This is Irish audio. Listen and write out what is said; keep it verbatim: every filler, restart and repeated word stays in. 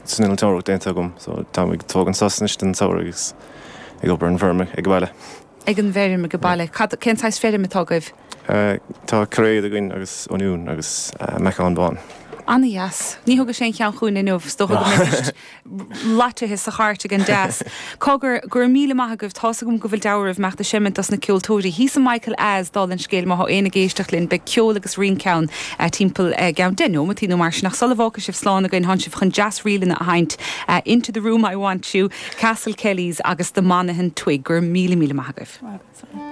san innealtóireacht déanta agam, so tá ag tógáil sos anois den samhradh agus ag obair an bhfeirm ag baile. Ag an bhfeirm ag baile, cén saghas feirm atá agaibh? Tá cairéad againn agus oinniún agus meacan bán. An-deas. Ní thug sé an ceann chugainn inniu dó laitithe sa chairt ag an deas. Cogar gur míle maith agaibh tá gom go bhfuil deabhramh meachta seimint as na ceoltóirí. Hí san Michael as dul an scéil má aon ag éisteacht linn beidh ceol agus rince ann timpeall gan deich nóiméad nó mar sin ach sula bhfágfaidh sibh slán againn tá sibh chun deas-ríleanna a sheinnt Into the Room I Want You, Castle Kellys agus the Monaghan Twig gur míle míle maith agaibh.